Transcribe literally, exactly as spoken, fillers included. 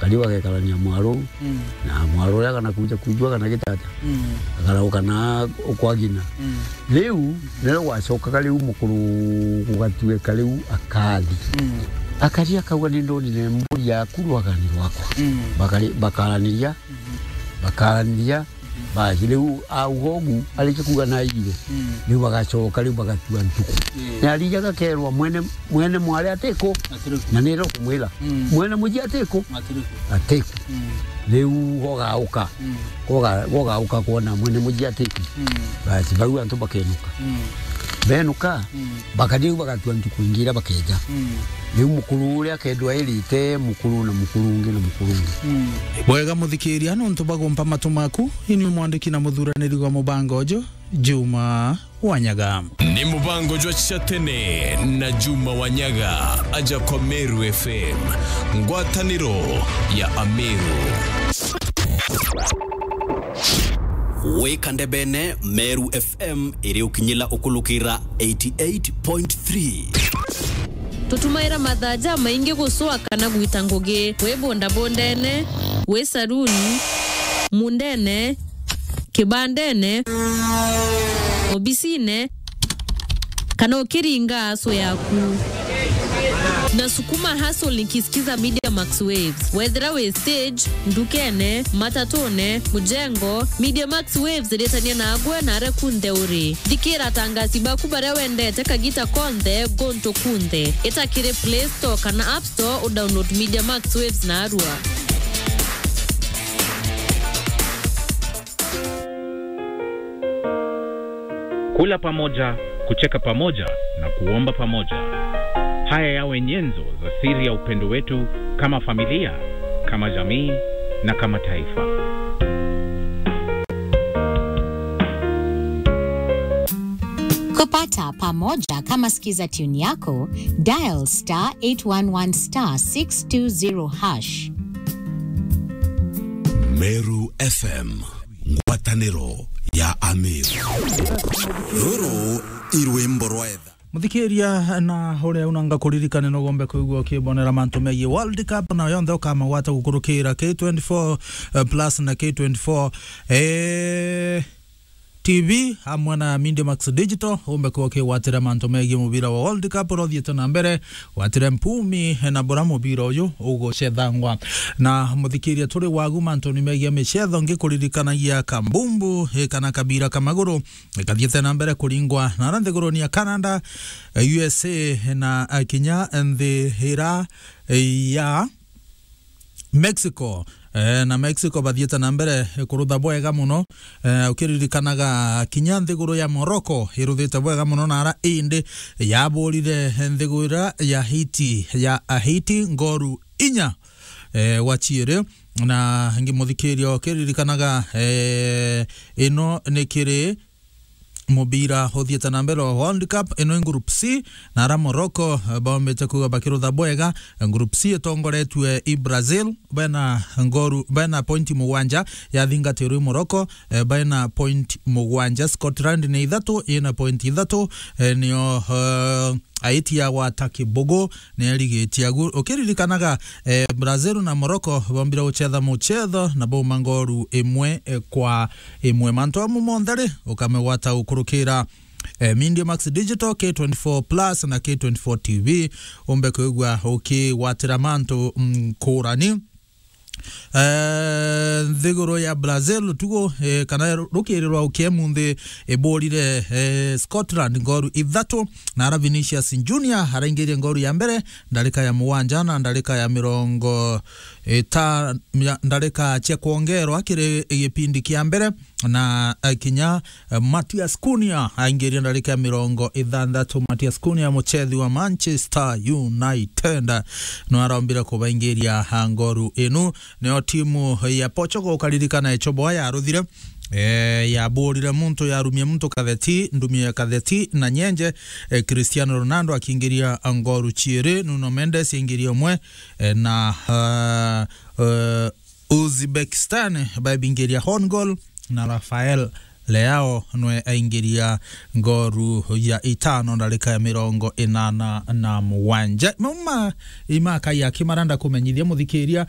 Kariu agekarania mwaro, mm, na mwaro uria kana kuja kujua kana gitata. Mm. Akarauka na ukwagina. Mm. Riu, nirio gwacokaga riu mukuru gugatuika riu akathi. Mm. Akathi akauga, "Ni ndonire mburi yaku rwagani rwakwa." Mm. Bakari-, bakaraniria, mm-hmm, bakaraniria, mm-hmm, basi riu auga ugu, arikia kuuga naire. Mm. Riu bagacoka riu bagatua ntuku. Yeah. Na arija gakerwa mwene, mwene mwari atiku, atiku, na niro kumwira. Mm. Mwene muji atiku, atiku, atiku. Mm. Riu gogauka. Mm. Goga-, gogauka kwona mwene muji atiku. Mm. Basi bau antu bakenuka. Mm. Benuka, mm, bakariu bagatua ntuku ingi iria bakeja. Mm. Riu mukuru uria akendwa airite mukuru na mukuru ungi na mukuru ungi. Mm. Bwega muthikiria, nontu bagumpa matu maku, ini mwandiki na muthuraniri wa mubango uju, Juma Wanyaga. Ni mubango jwa cia tene na Juma Wanyaga, aja kwa Meru F M, ngwataniro ya Ameru. Wika ndebene, Meru F M iri ukinyila ukulukira eighty eight point three. Tutumaira mathaa jamaingi gucwa kana gwita ngugi, wi bondabondene, wi saruni, mundene, kibandene, obisine, kana ukiringa aso yaku. Na sukuma hustle nikisikiza Media Max Waves. Wethira wi stage, ndukene, matatune, mujengo, Media Max Waves iritania nagwe na aria kunthe uri. Thikira atangasi baku baria wendete kagita konthe, guntu kunthe. Ita kiri Play Store kana App Store, udownload Media Max Waves narua. Kula pamoja, kucheka pamoja na kuomba pamoja. Haya yawe nyenzo za siri ya upendo wetu kama familia, kama jamii na kama taifa. Kupata pamoja kama Skiza tune yako, dial star eight one one star six two zero hash. Meru F M, ngwataniro ya Ameru. Ruru i rwimbo rwa etha. Muthikiria na uria unanga kuririkane no gombe kuigua ukibonera mantu megie World Cup na yonthe ukamagwata gukurukira K twenty-four, eh, plus na K twenty-four, eh, T V amwe na Media Max Digital, umbe kuwa ukigwatira mantu megie mubira wa World Cup uria uthiite na mbere, gwatire mpumi na bura mubira uyu ugucethangwa. Na muthikiria turi wagu mantuni megie micetho, ngikuririkanagia kambumbu, eh, kana kabira ka maguru, eh, kathiite na mbere kuringwa na ara nthiguruni ya Canada, eh, U S A na, eh, kinya nthi ira, eh, ya Mexico. Eh, na Mexico bathiite na mbere kurutha bwega muno. Eh, ukiririkanaga kinya nthiguru ya Morocco iruthite bwega muno na ara indi yaburire nthiguru ira ya Haiti, ya Haiti ngoru inya, eh, gwa ciiri. Na ngimuthikiria ukiririkanaga, eh, ino ni kiri mubira uthiite na mbere wa World Cup. Ino i Group C, na ara Morocco, eh, baumite kuuga bakirutha bwega. Eh, Group C itongoretue i Brazil, bena ngoru, bena point mugwanja, yathingatirwe i Morocco, eh, bena point mugwanja. Scotland ni ithatu, ina point ithatu, eh, nio, eh, Haiti yagwata kibugu, ni arigitie agu. Ukiririkanaga, eh, Brazil na Morocco bombire gucetha mucetho na bauma ngoru imwe, eh, kwa imwe. Mantu amu monthe ri, ukamegwata gukurukira, eh, Media Max Digital, K twenty-four Plus na K twenty-four T V, umbe kwigua ukigwatira mantu, mm, ngurani. Eh, nthiguru ya Brazil, utuku, eh, kana ru-, rukiri rwa ukiemu nthi iburire, eh, Scotland ngoru ithatu, na ara Vinicius Junior araingirie ngoru ya mbere, ndarika ya mugwanja na ndarika ya mirongo ita-, ya, ndarika cia kwongerwa kiri gipindi kia mbere, na, eh, kinya, eh, Matheus Cunha aingiria ndarika ya mirongo ithanthatu. Matheus Cunha, muchethi wa Manchester United, no arombire kubaingiria, ah, ngoru inu. Nio timu ya Portugal, ukaririkana, echoboa yaruthire, eh, yaburire muntu, yarumie muntu katheti, ndumio ya katheti na nyenje, eh, Cristiano Ronaldo akingiria ngoru ciiri, Nuno Mendes aingiria umwe, eh, na, ah, eh, Uzbekistan baibingiria own goal, na Rafael Leao nwe aingiria ngoru ya itano ndarika ya mirongo inana na mugwanja. Mauma imaka ya kimaranda kumenyithia muthikiria,